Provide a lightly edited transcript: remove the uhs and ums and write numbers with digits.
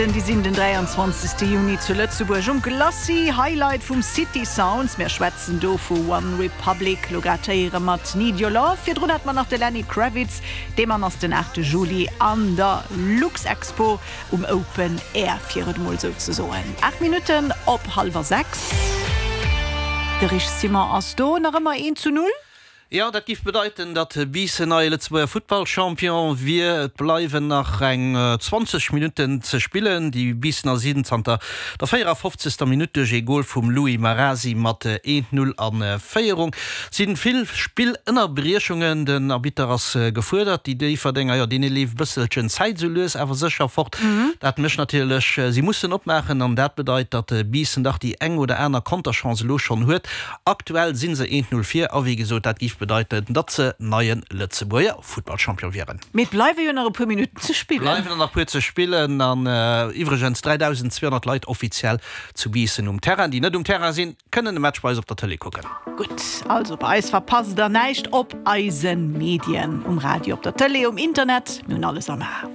Déi sinn den 23. Juni zu Lëtzebuerg um Glacis. Highlight vum City Sounds. Mir schwätzen do vu One Republic. Lo grad héiere mer d'Need Your Love. Virdrun hat mer nach de Lenny Kravitz. Dee Mann ass den 8. Juli an der Luxexpo um Open Air, fir et emol esou ze soen. 8 Minutten op hallwer 6. De Rich Simon ass do. Nach ëmmer 1 zu 0. Jo, dat giff bedeiten, datt Biissen neie Lëtzebuerger Futtballchampion wier. Et bleiwen nach eng 20 Minutten ze spillen. Déi Biissener sinn zanter der 54. Minutt duerch ee Gol vum Louis Marasi mat 1, 0 a Féierung. Et si vill Spillënnerbriechungen, den Arbitter ass gefuerdert. Déi Déifferdenger, jo, deene leeft e bësselchen d'Zäit esou lues awer sécher fort. Dat mécht natierlech, si mussen opmaachen an dat bedeit, datt Biissen dach déi eng oder aner Konterchance elo schonn huet. Aktuell si se 1, 0 vir a wéi gesot, dat géif bedeiten, datt se neie Lëtzebuerger Futtballchampion wieren. Mee et bleiwe jo nach e puer Minutten ze spillen. Bleiwen der nach puer ze spillen an iwwregens 3.200 Leit offiziell zu Biissen um Terrain. Déi net um Terrain sinn, kënnen de Match bei eis op der Tëlee kucken. Gutt, also bei eis verpasst der näischt op eise Medien, um Radio, op der Tëlee, um Internet, mir hunn alles am A.